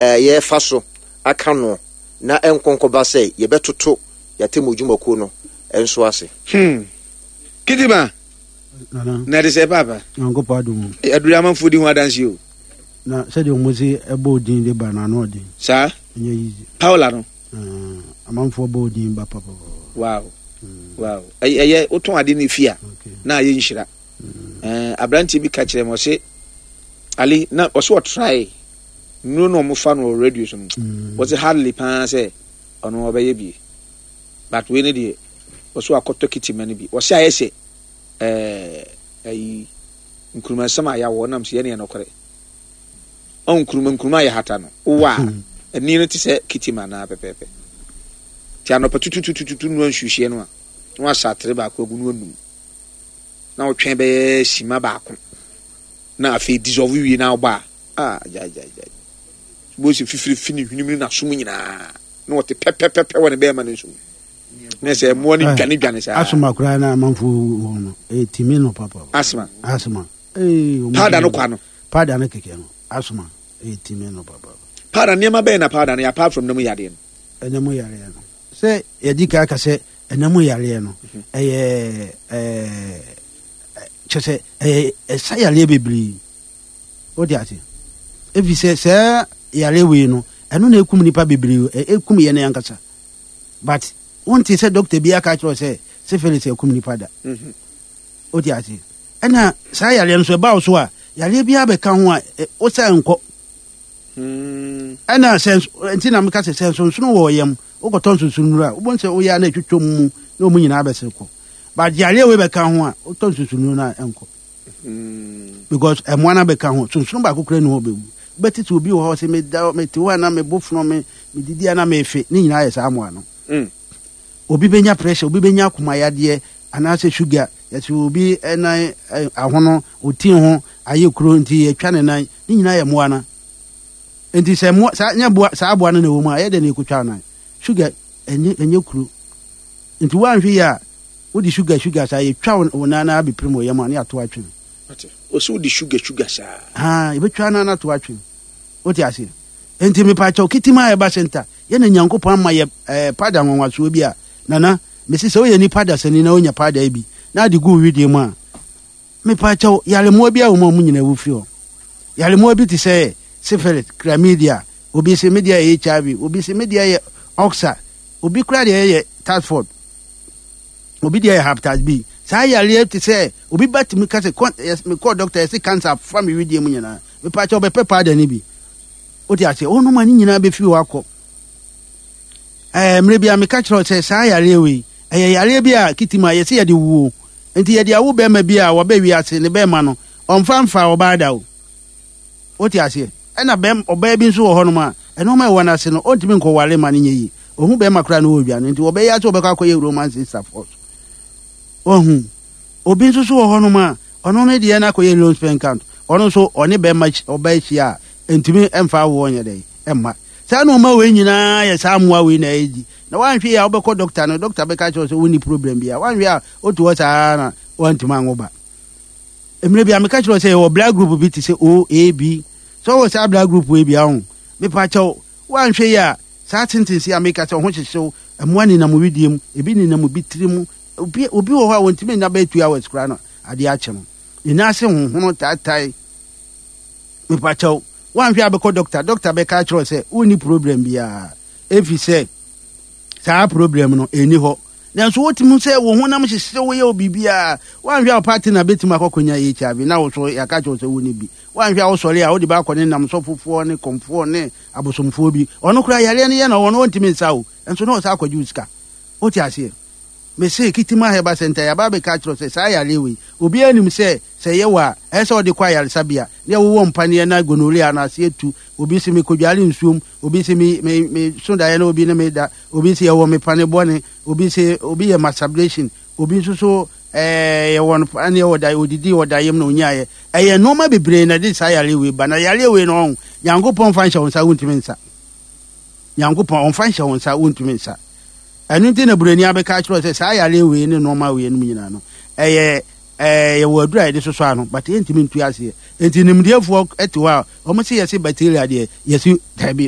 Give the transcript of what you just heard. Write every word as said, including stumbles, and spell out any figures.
Yɛrefa so aka no na ɛnkɔ nkɔba sɛ yɛbɛtoto yɛatemmu dwumakuo no nso ase. Hmm. Kitima. Nana. Na ɛde sɛ paapa. Nyankopɔn adom. Aduru amanfoɔ di ho adanse o. Na sɛdeɛ wɔn si ɛbɔ odin de ba na ano ɔden. Saa. Ɛnyɛ easy. Paula no. Uh, amanfoɔ bɔ odin ba papa. Wow. Mm. Wow. Ɛyɛ ɛyɛ wotɔn ade ne fi a. Okay. Na ayɛ nhyira. Mm. Ɛɛ aberanteɛ bi ka kyerɛ me, ɔse Ali na ɔse ɔtrae nnuro na ɔmo fa no wɔ radio so no. Mm. Wɔse hardly paa sɛ ɔno ɔbɛyɛ bi. But wei ne deɛ, ɔse wakɔtɔ kitima no bi. Ɔse ayɛ sɛ ɛɛ ɛyi nkuruma nsɛm a yɛawɔ nam sɛ yɛne yɛ nɔkorɛ. Ɔn nkuruma nkuruma yɛ hata no. Wowɔ a ani no te sɛ kitima naa pɛpɛɛpɛ. Ti anɔpa tututututu nua nsuhyeɛ no a na wasa atere baako agu no anum. Na wotwɛn bɛyɛ sima baako. Na afei dissolve wie na wobɔ a, ah, gyae gyae gyae. Bose fifiri fi ne hwenem ne n'asom nyinaa na wɔte pɛpɛpɛpɛ wɔ ne bɛrima no nso mu. Na sɛ mmoa no dwane dwane saa. Asoma koraa na amanfo wɔ no. Ɛtumi no papa. Asoma. Asoma. Ee, ɔmo Powder no di- kwa no. Powder no kɛkɛ no. Asoma. Ɛtumi no papa. Powder nneɛma bɛyɛ na powder no yɛ apart from ne mu yadeɛ no? Ɛnɛ mu yareɛ no. Sɛ yɛdi ka aka sɛ ɛnɛ mu yareɛ no, ɛyɛ ɛɛ kyɛ sɛ ɛyɛ ɛsa yareɛ bebree. Wode ase. Efi sɛ sɛ yareɛ wei no, ɛno na ekum nipa bebree, ɛ- ekum yɛn ankasa. But wonte sɛ doctor bi aka kyerɛ wo sɛ syphilis ekum nipa da. Mhm. Wote ase. Ɛna saa yareɛ no so ɛba wo so a, yareɛ biara bɛka ho a, ɛ- wo sɛ nkɔ. Hmm. Ɛna sɛ nso- nti na meka sɛ sɛ nsonsono wɔ yam, wokɔtɔ nsonsono nnuro a, wobɛhu sɛ woyɛ a na ɛtwitwa mu na ɔmu nyinaa bɛsere kɔ. But yareɛ wei bɛka ho a, wotɔ nsonsono nnuro no a, ɛnkɔ. Hmm. Because ɛmoa no bɛka ho, sonsono baako kora ni hɔ bɛwu. Wobɛte sɛ obi wɔ hɔ sɛ meda mete hɔ a na mebo fono me, medidi a na mefe, ne nyinaa yɛ saa mmoa no. Mm. Obi bɛnya pressure, obi bɛnya akomayadeɛ anaasɛ sugar, yɛsɛ obi ɛnan ɛ, ahono, oti ho ayɛ kuro nti yɛtwa ne nan, ne nyinaa yɛ mmoa no. Nti sɛ mmoa saa nyɛ boa saa aboa no na ɛwɔ mu a, ɛyɛ dɛ na ɛkɔtwa nan. Sugar ɛnyɛ ɛnyɛ kuro. Nti woanhwɛ yi a, wode sugar sugar saa yɛtwa wo nan na abɛpirim wɔ yam a, ne yɛato atwene. Ate. Ɔsɛ wode sugar sugar saa. Ha, yɛbɛtwa nan ato atwene. Wote aseɛ? Nti mepakyɛw Kitima Herbal Center, yɛna Nyankopɔn ama yɛ ɛɛ pada nwanwasoɔ bi a, nana mesi sɛ woyɛ nipa dasani na wonya pada yi bi na ade gu wo wedeɛ mu a, mepakyɛw yaremmoa bi a wɔ mu a ɔmo nyinaa wu firi hɔ. Yaremmoa bi te sɛ syphilis, chlamydia, obi sɛ me deɛ yɛ H I V, obi sɛ me deɛ yɛ oxa, obi kora deɛ yɛ typhoid, obi deɛ yɛ hepatitis B. Saa yareɛ te sɛ obi ba tumi ka sɛ kɔ- yɛ- mekɔɔ doctor, yɛse cancer fa me wedeɛ mu nyinaa. Mepakyɛw wobɛpɛ powder no bi, wote aseɛ, wonom a ne nyinaa bɛfiri hɔ akɔ. Ɛɛ mmerɛ bi a meka kyerɛ wo sɛ saa yareɛ wei ɛyɛ yareɛ bi a Kitima yɛsɛ yɛde wuo, nti yɛde awo bɛrima bi a wɔbɛ wiase ne bɛrima no ɔmfa mfa ɔbaa da o. Wote aseɛ? Ɛna bɛm ɔbaa bi nso wɔ hɔnom a ɛnɔɔma ɛwɔ n'ase no, ɔntumi nkɔware ma no nyɛ yie. Ɔhu bɛrima koraa no, wɔredwane, nti wɔbɛyɛ ase wɔbɛkɔ akɔyɛ romance intercourse. Ɔhu obi nso so wɔ hɔnom a ɔno ne deɛ no akɔyɛ low sperm count. Ɔno nso ɔne bɛrima hy- ɔbaa hyia a ntumi mfa awoɔ nyɛ dɛ ɛmma. Saa nneɛma wei nyinaa yɛ saa mmoa wei na ɛdi na woanhwɛ yi a, wobɛkɔ doctor no, doctor bɛka kyerɛ wo sɛ wonni problem bi a, woanhwɛ a wote hɔ saa na woantumi anwo ba. Mmerɛ bi a meka kyerɛ wo sɛ yɛwɔ blood group bi te sɛ O, A, B. Sɛ wowɔ saa blood group wei bi a ho, mepa kyɛw, woanhwɛ yi a, saa tentensi a meka sɛ wo ho hyehyew, mmoa nenam wo wedeɛ mu, ebi nenam obi tiri mu. obi obi wɔ hɔ a wɔntumi nna bɛyɛ two hours koraa no adeɛ akye no, ne nan ase honhono taatae. Mepa kyɛw, woanhwɛ a bɛkɔ doctor, doctor bɛka kyerɛ wo sɛ wonni problem biara, ɛfiri sɛ saa problem no ɛni hɔ. Nanso wotumi sɛ wo honam hyehye wo, yɛ wo biribiara, woanhwɛ a party na bɛtumi akɔkɔnya H I V na wo so yɛaka kyerɛ wo sɛ wonni bi. Woanhwɛ a wosɔre a wode baakɔ ne nam sɔfofoɔ ne kɔmfoɔ ne abosomfoɔ bi, ɔno koraa yareɛ no yɛ na ɔno ɔntumi nsa wo, nso na ɔsa akɔgye wo sika. Wote aseɛ? Mese Kitima Herbal Center yɛaba bɛka kyerɛ sɛ saa yareɛ wei obiara nim sɛ sɛ ɛyɛ wɔ a, ɛyɛ sɛ wɔde kɔ ayaresabea na yɛwowɔ mpaneɛ na gonorrhea no ase atu. Obi sɛ mekɔdware nsuom, obi sɛ me me me so daeɛ na obi ne me da, obi sɛ yɛwɔ me pane bɔne, obi sɛ obi yɛ masturbation, obi nso so ɛɛ yɛwɔ no paneɛ wɔ da odidi wɔ da yam na onyaeɛ. Ɛyɛ nneɛma bebree na ɛde saa yareɛ wei ba. Na yareɛ wei no, ɔho Nyankopɔn fa nhyɛ wo nsa, wontumi nsa. Nyankopɔn ɔmfa nhyɛ wo nsa, wontumi nsa. Ɛno nti na buroni abɛka kyerɛ sɛ saa yareɛ wei ne nneɛma wei no nyinaa no ɛyɛ Ɛɛ yɛwɔ aduru a yɛde sosɔ ano, but yɛntumi ntu aseɛ. Nti nimdeɛfoɔ te hɔ a wɔn se yɛse bacteria deɛ, yɛsi dabi.